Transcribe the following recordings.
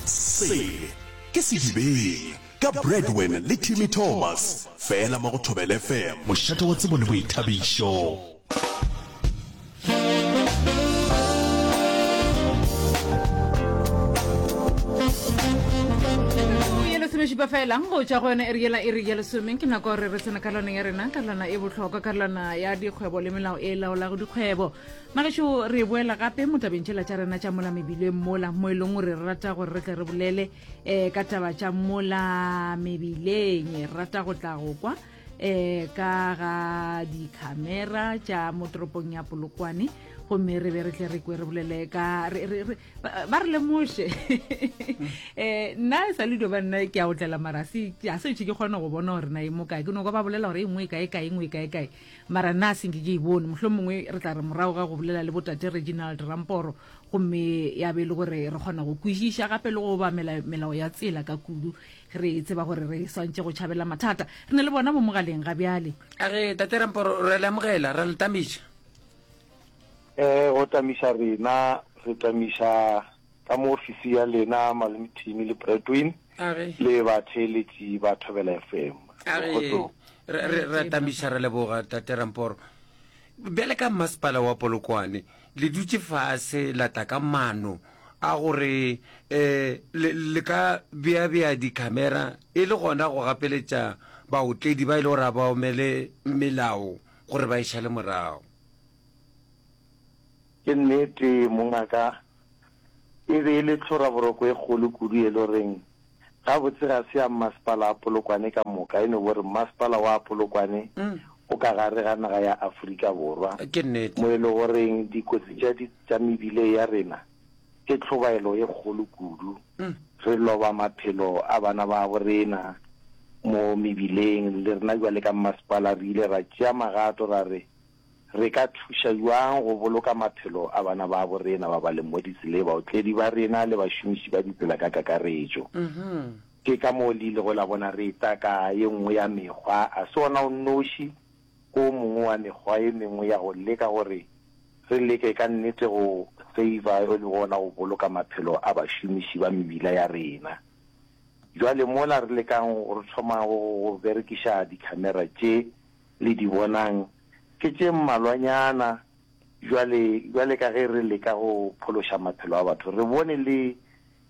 Se ke Sedibeng ka Bradwin le Timmy Thomas, fela mo go Thobela FM, mošate wa tsebo le boithabišo. Ya lesomešupa fela go tšwa go yona iri yela iri ya lesome ke nako gore re tsena karolwana ya rena karolwana e bohlokwa karolwana ya dikgwebo le melao e laolago dikgwebo Magešo, re boela gape mo tabeng tšela tša rena tša mola mebileng mola, mo e leng gore re rata gore re tle re bolele um ka taba tša mola mebileng. Re rata go tla go kwa um ka ga dikhamera tša mo toropong ya Polokwane, gomme re be re tle re kwe re bolele ka ba re lemoše. Um nna e sa le dio ba nna ke a otlela mara se a se ke kgone go bona gore na e mo kae. Ke no kwa ba bolela gore e nngwe e kae kae, e nngwe e kae kae. Mara nna a se nke ke e bone. Mohlomongwe re tla re morago ga go bolela le botate Reginald Ramporo, gomme ya be e le gore re kgona go kwešiša gape le go obamela melao ya tsela ka kudu, re tseba gore re swantše go tšhabela mathata. Re na le bona mo mogaleng ga bjale. A re, Tate Ramporo, re a le amogela, ra le tamiša. Eh, go tamiša rena, re tamiša ka mo ofisi ya lena Malome Timmy le Bradwin le batheeletši ba Thobela FM. A re, re, re tamiša re leboga Tate Ramporo. Bjale ka masepala wa Polokwane le dutše fase la tla ka mano a gore um le, le ka beabea dikhamera e le gona go gapeletša baotledi ba e le gore a ba omele melao gore ba e šale morago. Ke nnete mongaka, E be e le tlhoraboroko e kgolo kudu e le goreng gabotse ga se ya mmasepala wa Polokwane ka moka, e no bo re mmasepala wa Polokwane o ka gare ga naga ya Afrika Borwa, Ke nnete. mo e le goreng dikotsi tša di tša mebile ya rena ke tlhobaelo e kgolo kudu. Re loba maphelo a bana babo rena mo mebileng, le rena bjale ka mmasepala re ile ra tšea magato ra re Re ka thuša bjang go boloka maphelo a bana babo rena ba ba leng mo ditseleng, baotledi ba rena le bašomiši ba ditsela ka kakaretšo? Ke ka moo le ilego la bona re eta ka ye nngwe ya mekgwa, a se wona o nnoši, ke o mongwe wa mekgwa e mengwe ya go leka gore re leke ka nnete go save-a e lego gona go boloka maphelo a bašomiši ba mebila ya rena. Bjale mola re lekang re thoma go berekiša dikhamera tše, le di bonang ke tše mmalwanyana bjale, bjale ka ge re leka go phološa maphelo a batho, re bone le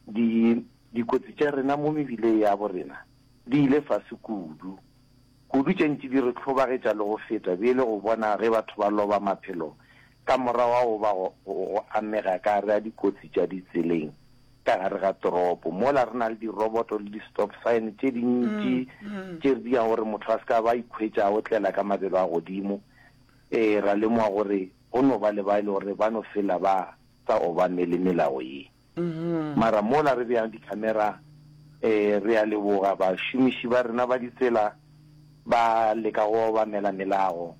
di, dikotsi tša rena mo mebileng ya bo rena di ile fase kudu, kudu tše ntši di re hlobagetša le go feta bjele go bona ge batho ba loba maphelo ka morago ga go ba go, go amega ka gare ga dikotsi tša ditseleng. ka gare ga toropo mola re na le diroboto le di-stop sign tše dintši tše re diang gore motho a se ka ba ikhwetša a otlela ka mabelo a godimo. Ee, ra lemoga gore go no ba le ba e le gore ba no fela ba sa obamele melao ye. Mara mola re beang di-camera, ee, re a leboga bašomiši ba rena ba ditsela ba leka go obamela melago,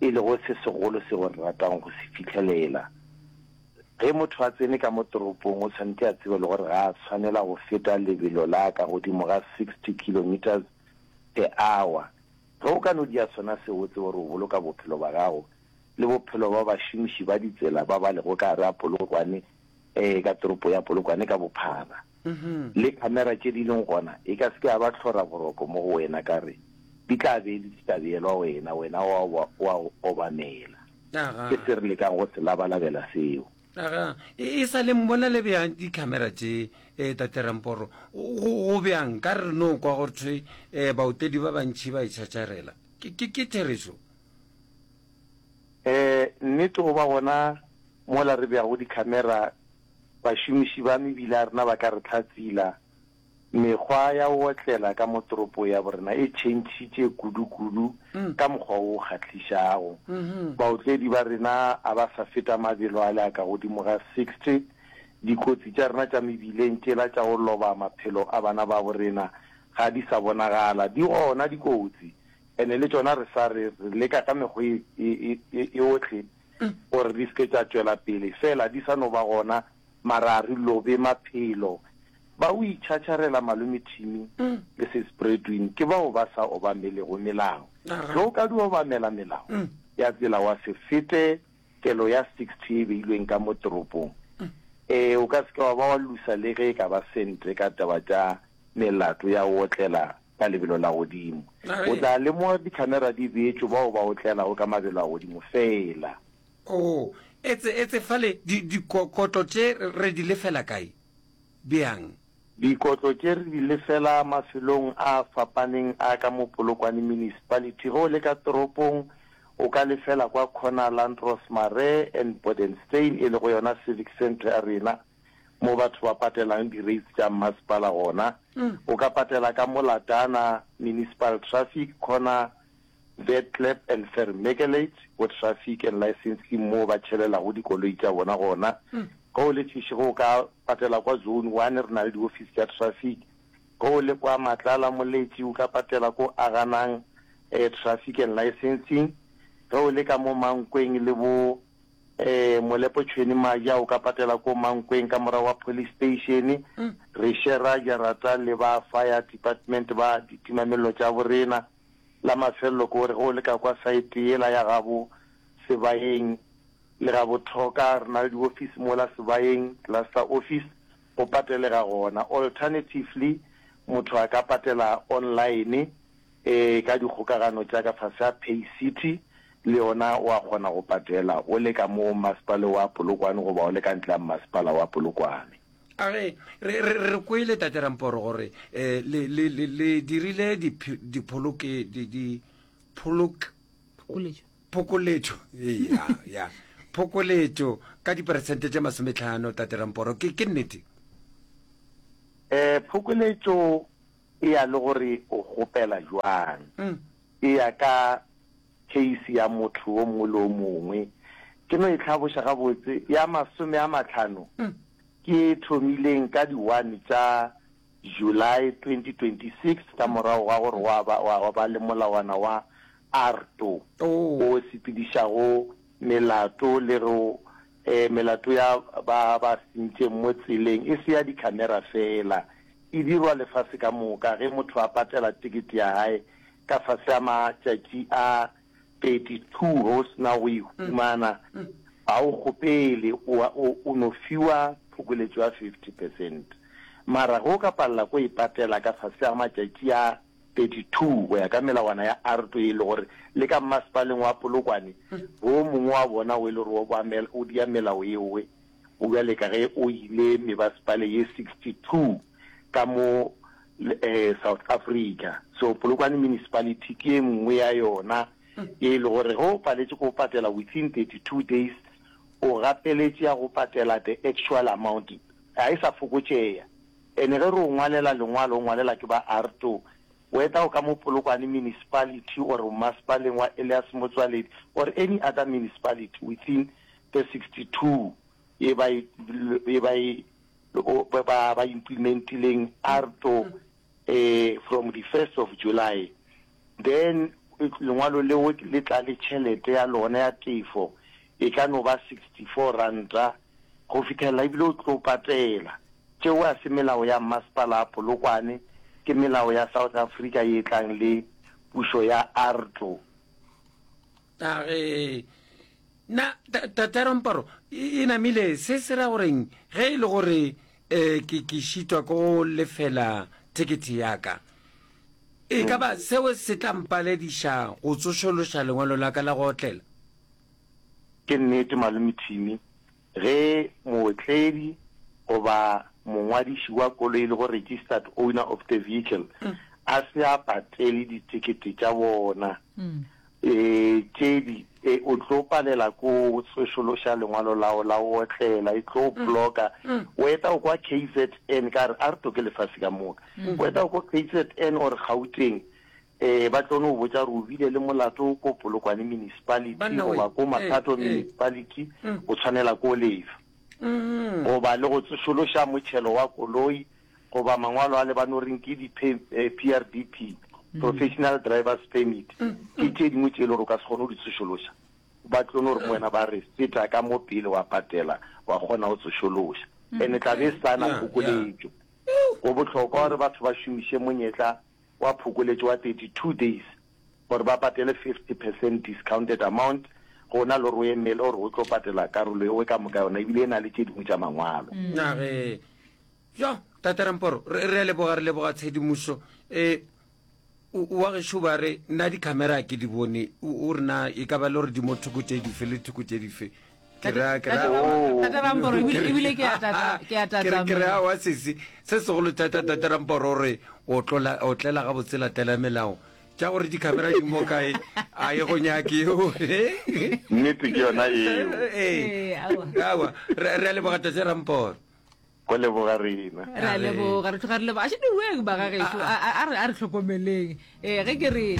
e lego se segolo seo re ratang go se fihlelela. Ge motho a tsene ka mo toropong o tshwanetše a tsebe le gore ga a tshwanela go feta lebelo la ka godimo ga 60 kilometres per hour. Ge o ka no dia sona seo o tsebe gore o boloka bophelo ba gago le bophelo ba bašomiši ba ditsela ba ba lego ka gare ga Polokwane, ee, ka toropo ya Polokwane ka bophara. Le khamera tše di leng gona e ka se ke ya ba tlhoraboroko mo go wena ka re di tla be di se tša beelwa wena, wena wa wa obamela. Ke se re lekang go se labalabela seo. Aga, e, e sa le mmona le bjang dikhamera tše, e, Tate Ramporo? Go, go bjang? Ka re no kwa go thwe, e, baotledi ba bantši ba itšhatšarela. Ke, ke, ke therešo? E, nnete go ba gona mola re beago dikhamera, bašomiši ba mebila ya rena ba ka re hlatsila. Mekgwa ya go otlela ka mo toropong ya borena e tšhentšhitše kudu-kudu ka mokgwa wo o kgahlišago. Baotledi ba rena a ba sa feta mabelo ale a ka godimo ga 60. Dikotsi tša rena tša mebileng tšela tša go loba maphelo a bana babo rena ga di sa bonagala. Di gona dikotsi, ene le tšona re sa re re leka ka mekgwa e eohle gore di se ke tša tšwela pele, fela di sa no ba gona Mara a re lobe maphelo. Ba o itšhatšharela Malome Timmy le Sis Bradwin ke bao ba sa obamelego melao. Ge o ka di obamela melao ya tsela wa se fete kelo ya 60 e beilweng ka mo toropong. Ee, o ka se ke wa ba wa lusa le ge e ka ba sente ka taba tša melato ya go otlela ka lebelo la godimo. O tla lemoga dikhamera di beetšwe bao ba otlelago ka mabelo a godimo feela. Oo, etse, etse fale, di, dikotlo tše re di lefela kae? Bjang? Dikotlo tše re di lefela mafelong a fapaneng a ka mo Polokwane Municipality. Ge o le ka toropong o ka lefela kwa corner Landros Marais and Bodenstein e lego yona Civic Centre ya rena mo batho ba patelang di-rates tša mmasepala gona. O ka patela ka mo Latana Municipal Traffic corner Vetklep and Vermeukelate go Traffic and Licensing moo ba tšhelelago dikoloi tša bona gona. Ge o le Seshego o ka patela kwa Zone One, re na le diofisi tša traffic. Ge o le kwa Matlala Moletši o ka patela ko Aganang Traffic and Licensing. Ge o le ka mo Mankweng le bo Molepo Tšhweni Maja o ka patela ko Mankweng ka morago ga police station. Re shera jarata le ba Fire Department ba ditimamello tša borena. La mafelelo ke gore ge o le ka kwa saete yela ya gabo Sebayeng le gabo Thoka, re na le diofisi mola Sebayeng, cluster office, go patelega gona. Alternatively, motho a ka patela online ka dikgokagano tša ka fase ga Pay City, le yona wa kgona go patela o le ka mo masepale wa Polokwane goba o le ka ntle ga masepala wa Polokwane. A re, re, re, re kwele, Tate Ramporo, gore eh, le, le, le, le dirile dipholoke, di, di, pholok, Phokoletšo. phokoletšo, ee, ya, ya, phokoletšo ka diperesente tše masometlhano, Tate Ramporo, ke, ke nnete? Eh, phokoletšo e ya le gore o kgopela jwang. Mm. E ya ka case ya motho o mongwe le o mongwe. Ke no e hlaboša gabotse, ya masome a mahlano ke e thomileng ka di one tša July 2026 ka morago ga gore gwa ba, gwa ba le molawana wa ARTO o sepedišago melato le go melato ya ba ba sentšeng mo tseleng, e se ya dikhamera feela, e dirwa lefase ka moka ge motho a patela tekete ya hae ka fase ga matšatši a 32 ge o se na go e humana, ga o kgopele, o, o, o no fiwa phokoletšo ya 50 percent. Mara ge o ka palela ko e patela ka fase ga matšatši a 32 go ya ka melawana ya ARTO e le gore le ka mmasepaleng wa Polokwane, wo mongwe wa bona o e le gore o, o dia melao yeowe, o bjale ka ge o ile mebasepale ye 62 ka mo South Africa. So Polokwane Municipality ke ye nngwe ya yona ye e le gore ge o paletše ke go patela within 32 days, o gapeletše ya go patela the actual amount, ga e sa fokotšeya. Ene ge re o ngwalela lengwalo, o ngwalela ke ba ARTO, o eta o ka mo Polokwane Municipality or masepaleng wa Elias Motsoaledi or any other municipality within the 62 ye ba e, ye ba e, ba, ba implementileng ARTO eh, from the 1st of July. Then lengwalo leo le tla le tšhelete ya lona ya tefo, e ka no ba 64 ranta go fihlelela ebile o tlo patela. Tšeo ga se melao ya mmasepala wa Polokwane, ke melao ya South Africa ye e tlang le pušo ya ARTO. A re, Na Tate Ramparo e namile se se ra goreng ge e le gore um ke ke šitwa ke go lefela thekethe ya ka? E ka ba seo se tla mpalediša go tsošološa lengwalo la ka la go otlela? Ke nnete, Malome Timmy, Ge mootledi goba mongwadiši wa koloi e lego registered owner of the vehicle a se a patele ditekete tša bona tše di, o tlo palela ko tsošološa lengwalo lao la go otlela, e tlo blocka. O eta o kwa KZN, ka re a re toke lefase ka moka, o eta o kwa KZN or Gauteng, Ee, ba tlo no botša gore o bile le molato ko Polokwane Municipality Banna we, goba ko ee, Mathato ee. Municipality, o tshwanela ko lefa. Goba le go tsošološa motšhelo wa koloi goba mangwalo a le ba no reng ke di PRDP, Professional Drivers Permit, ke tše dingwe tše e le gore o ka se kgone go di tsošološa. Ba tlo no re mo wena ba re feta ka mo pele wa patela wa kgona go tsošološa. And-e tla be e sa na Ya, ya. phokoletšo. Go bohlokwa gore batho ba šomiše monyetla wa phokoletšo wa 32 days gore ba patele 50 percent discounted amount. Go na le gore o emele gore o tlo patela karolo ewe ka moka yona, ebile e na le tše dingwe tša mangwalo. Na ge. Jo, Tate Ramporo, re, re a leboga, re leboga tshedimošo. E, o, wa gešo ba re, nna dikhamera ke di bone, o, o re na e ka ba le gore di mo thoko tše dife le thoko tše dife. Ke ra, ke ra. Tate Ramporo, ebile, ebile ke a tata, ke a Ke re, ke re, aowa sesi, se segolo thata Tate Ramporo o re, o tlola, o tlela gabotse latela melao. Tša gore dikhamera di mo kae a e go nyake eo. Nnete ke yona eo. Ee, aowa. Re re a leboga Tate Ramporo. Go leboga rena. Re a leboga, re tloga re leboga. A še diweng ba ga gešo, a re a re hlokomeleng. Ee, ge ke re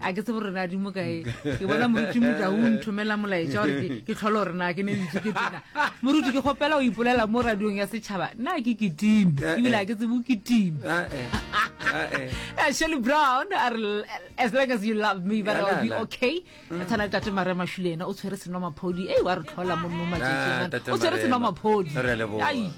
a ke tsebe gore na di mo kae. Ke bona moruti Motau o nthomela molaetša gore ke ke tlhole gore na ke ne ntse ke tena. Moruti ke kgopela o ipolela mo radiong ya setšhaba. Nna ke kitime, ebile a ke tsebe o kitime. Eh, Shirley Brown a re as long as you love me but I'll be okay. Re tshwana le tate Maria Mashule yena o tshwere senomaphodi. Ei wa re tlhola mo mo matšatšing Ah, ana. Tate O tshwere Marema. senomaphodi. Re a leboga. Ai.